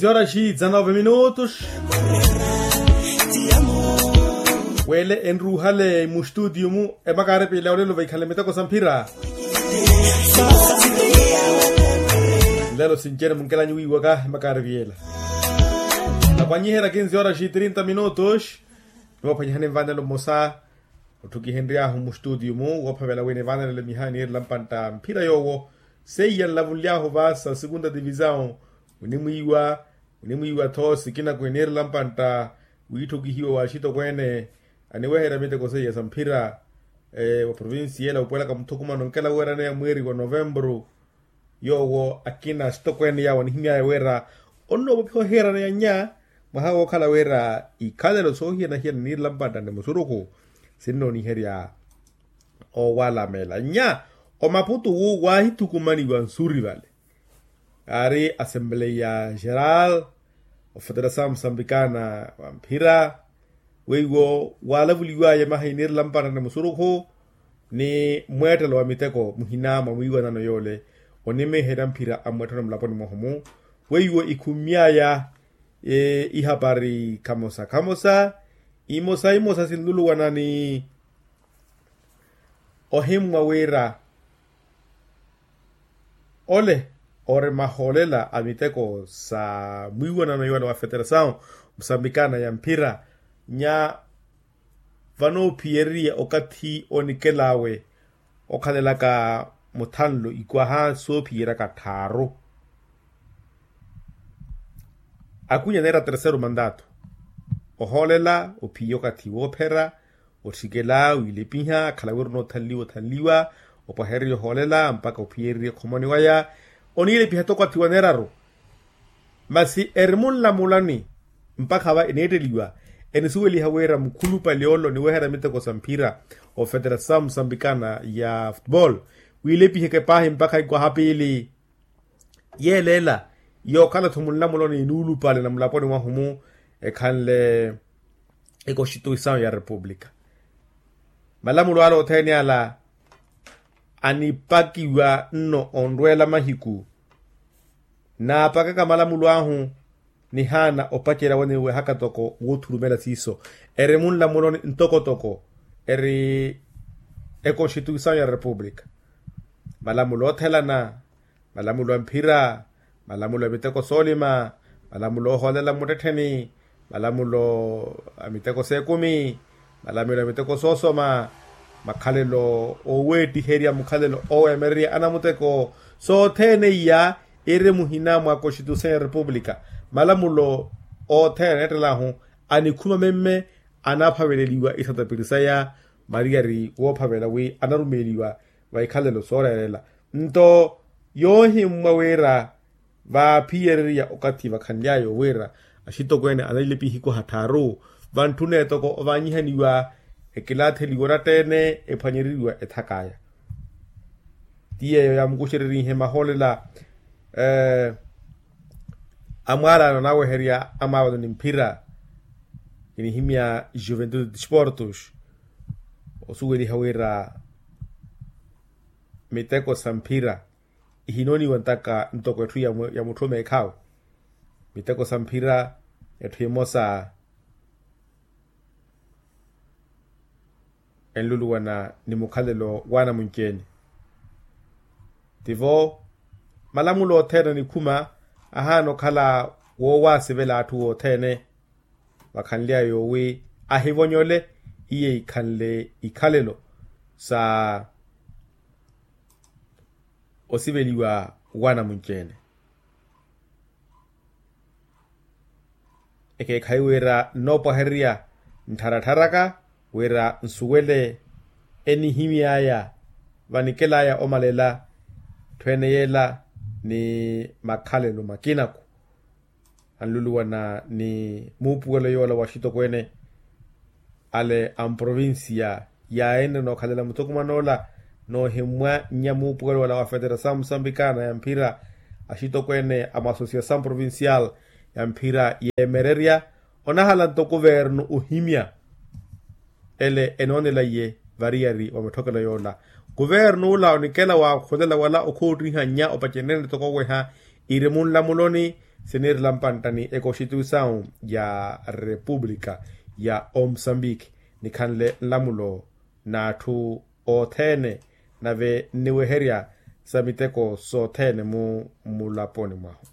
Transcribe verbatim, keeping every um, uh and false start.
Horas dezanove minutos. Wele enruhale mustutio mu, emakaari piila olelo vaikhale miteko sa mphira. Lelo sincene munkelanyi wiiwaka emakaari piyela. Apanyiherya kinzi horas trinta minutos. Niwapanyihani nvanelo mmosa. Otthukihenry'ahu mustutio mu woophavela wina evanelelo miha eniirela mpantta mphira yoowo. Seiya nlavunly'ahu va sa segunda divisao. Munimwiiwa, munimwiiwa-tho sikina kwiniirela mpantta wiitthukihiwa wa axitokweene aniweherya miteko seiya sa mphira. Wa provincia ela wuupuwelaka muthukumano nkela weeraneya mweeri wa novembru. Yoowo akina axitokweene yaawo anihimy'aya wira onnoopophiwa ohiiraneya nnya mwaha wookhala wira ikhalelo soohiyana-hiyana niirela mpantta ni musurukhu. Sinnooniherya owalamela nnya omaputu wu waahithukumaniwa nsuri vale. Aari assembleia geral ofeterasamu musambikana wa mphira. Weiwo waalavuliwaya maha iniirela mpantta ni musurukhu ni mweettelo wa miteko muhina mwa mwiiwanano yoole onimeherya mphira a mweettelo mulaponi mwahu mu. Weiwo ikhumy'aya ihapari khamosa khamosa imosa imosa sinluluwana ni ohimmwa wira ole ori mahoolela a miteko sa mwiiwanano yoola wa feterasawu musambikana ya mphira nya vanoophiyereriya okathi onikel'awe okhalelaka muthanlo ikwaha soophiyeryaka tthaaru. Akwinya neera terseru mandato ohoolela ophiya okathi woophera otthikela wiilepiha akhala wira onoothanliwa othanliwa opwahererya ohoolela mpakha ophiyererye khomoni waya oniilepiha toko athi waneeraru. Masi eri munlamulani mpakha va eneetteliwa enisuweliha wira mukhulupale ole oniweherya miteko sa mphira ofeterasamu musambikana ya futebol wiilepiheke paahi mpakha ikwaha piili. Yeeleela yookhala-tho munlamuloni nuulupale na mulaponi mwahu mu ekhanle ekonstituisawu ya repupulika. Malamulo ala othene ala anipakiwa nno onrweela mahiku naapakaka malamulo ahu nihaana opacerya waniwehaka toko woothurumela siiso eri munlamuloni ntokotoko eri ekonstituisawu ya repupulika. Malamulo oothelana malamulo a mphira malamulo a miteko soolima malamulo oohoolela mmuttettheni malamulo a miteko seekumi malamulo a miteko soosoma makhalelo ooweettiherya mukhalelo ooweemererya anamuteko sothene iya iri muhina mwa konstitution ya repupulika. Malamulo othene aneettel'ahu anikhuma memme anaaphaveleliwa isatapiri saya mariyari woophavela wi anarumeeliwa va ikhalelo sooreerela nto yoohimmwa wira vaaphiyererya okathi vakhanly'aya owiira axitokweene analilepiha ikwaha tthaaru vantthuna etoko ovaanyihaniwa ekilaatheliwa oratteene ephwanyereriwa ethak'aya. Ti yeeyo yaamukuxererihe mahoolela amwaalaano anaaweherya amaavano ni mphira kinihimya juventude desportos osuweliha wira miteko sa mphira ihinooniwa ntaka ntoko etthu ya mutthu omeekhaawe miteko sa mphira etthu emosa enluluwana ni mukhalelo w'anamunci-ene. Tivo malamulo othene anikhuma ahaana okhala woowaasivela atthu othene vakhanly'aya wi ahivonyole iye ikhanle ikhalelo sa osiveliwa w'anamunci-ene. Ekeekhayi wira nnoopwahererya nttharatharaka wira nsuwele enihimy'aya vanikel'aya omalela tthu ene yeela ni makhalelo makinaku anluluwana ni muupuwelo yoola wa axitokweene ale a mprovincia yaahina nookhalela muthukuman'ola noohimmwa nnya muupuwelo wala wa federasaw musambikana ya mphira axitokweene a mwa associasaw provincial ya mphira yeemererya onahala nto kuvernu ohimya ele enoonela iye variyari wa mitthokelo yoola kuvernu ola onikela waakhulela wala okhoottiha nnya opaceneene toko oweha iri munlamuloni siniirela mpantta ni ekoxitiwi sawu ya repupulika ya omosambiki nikhanle nlamulo n'atthu othene nave nniweherya sa miteko sothene mu mulaponi mwahu.